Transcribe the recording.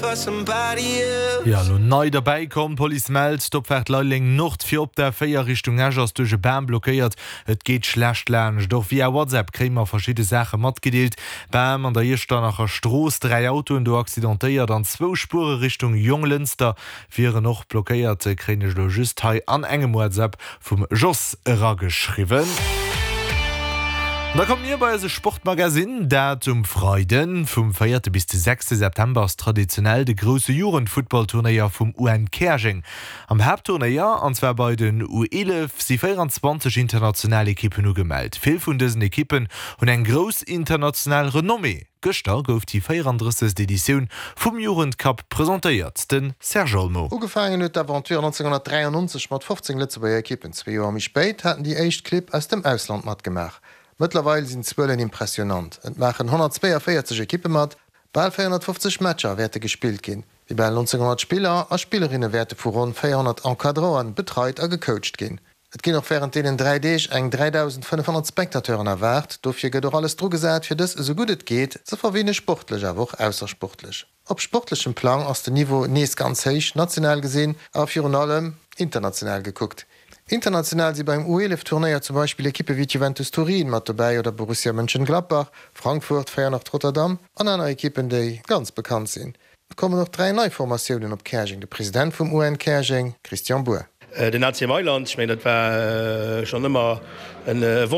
Jo, elo nei derbäi komm, D'Police mellt, d'Opfaart Leideleng Nord fir op der 4 Richtung Esch ass duerch e Bam blockéiert. Et geet schlecht laanscht. Och via WhatsApp kréie mer verschidde Saache matgedeelt. Bam an der Iechternacher Strooss, 3 Autoen do accidentéiert an zwou Spuere Richtung Jonglënster wieren och blockéiert, kréien ech elo just hei an engem WhatsApp vum Jos erageschriwwen. An da komme mir bei eise Sportmagasinn, dat um Freiden. Vum véierte bis de sechste September ass traditionell de grousse Jugendfuttballturnéier vum UN Käerjeng. Am Haaptturnéier, an zwar bei den U11, si 24 international Ekippen ugemellt. Vill vun dësen Ekippen hunn eng grouss international Renommée. Gëschter gouf déi 34. Editioun vum Jugendcup presentéiert, de Serge Olmo. Ugefaangen huet d'Aventure 1993 mat 15 Lëtzebuerger Ekippen. Zwee Joer méi spéit haten déi éischt Clibb aus dem Ausland matgemaach. Mëttlerweil sinn d'Zuelen impressionant, Et maachen 142 Ekippe mat, bal 450 Matcher wäerte gespillt ginn. Déi bal 1.900 Spiller a Spillerinne wäerte vu ronn 400 Encadranten betreit a gecoacht ginn. Et ginn och wärend deenen 3 Deeg eng 3.500 Spectateuren erwaart. Dofir gëtt och alles dru gesat, fir dës esou gutt et geet ze verwinne, sportlech awer och aussersportlech. Op sportlechem Plang ass den Niveau nees ganz héich, national gesinn a virun allem international gekuckt. International si beim U11 Turnéier zum Beispill Ekippe wéi d'Juventus Turin mat dobäi oder Borussia Mönchengladbach, Frankfurt, Feyenoord Rotterdam an aner Ekippen, déi ganz bekannt sinn. Et kommen och 3 nei Formatiounen op Käerjeng, de President vum UN Käerjeng, Christian Bour. Den AC Mailand, ech mengen dat war schonn ëmmer e Wonsch.